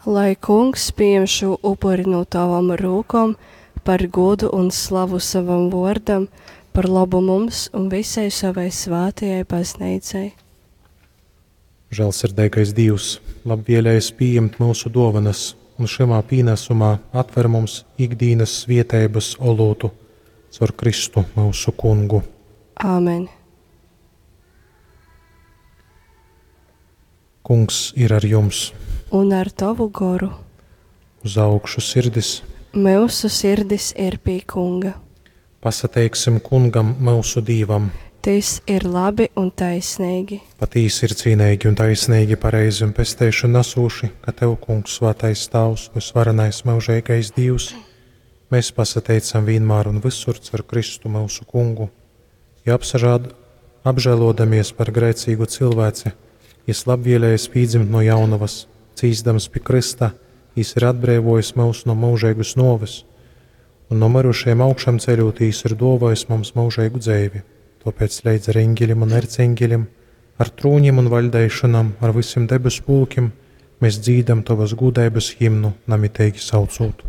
Lai Kungs pījem šū upuri no tavam rūkom par godu un slavu savam vōrdam, par labu mums un visai savai svātajai baznīcai. Žēlsirdīgais Dīvs, labvēlējis pījimt myusu dōvanas un šymā pīnasumā atver mums ikdīnas svieteibas olūtu caur Kristu myusu Kungu. Āmen. Kungs ir ar jums. Un ar tavu goru. Uz augšu sirdis. Myusu sirdis ir pie Kunga. Pasateiksim Kungam, myusu Dīvam. Tys ir labi un taisnīgi. Patīsi ir cīneigi un taisnīgi, pareizi un pesteišonu nasūši, ka Tev, Kungs, svātais Tāvs, vysvarenais myužeigais Dīvs, mēs pasateicam vienmēr un visur caur Kristu myusu Kungu. Ja apsažād, apžēlodamies par grēcīgu cilvēci, jis labvēlējis pīdzimt no jaunavas, cīsdams pi Krista, jis ir atbrīvojis mūs no mūžīgas noves, un no mirušajiem augšām ceļot, jis ir dāvājis mums mūžīgu dzīvi. Tāpēc leidz ar eņģeļiem un erceņģeļiem, ar trūņiem un vaļdeišanām, ar visiem debesu pulkiem, mēs dzīdam tavas gudrības himnu, namiteigi saucot.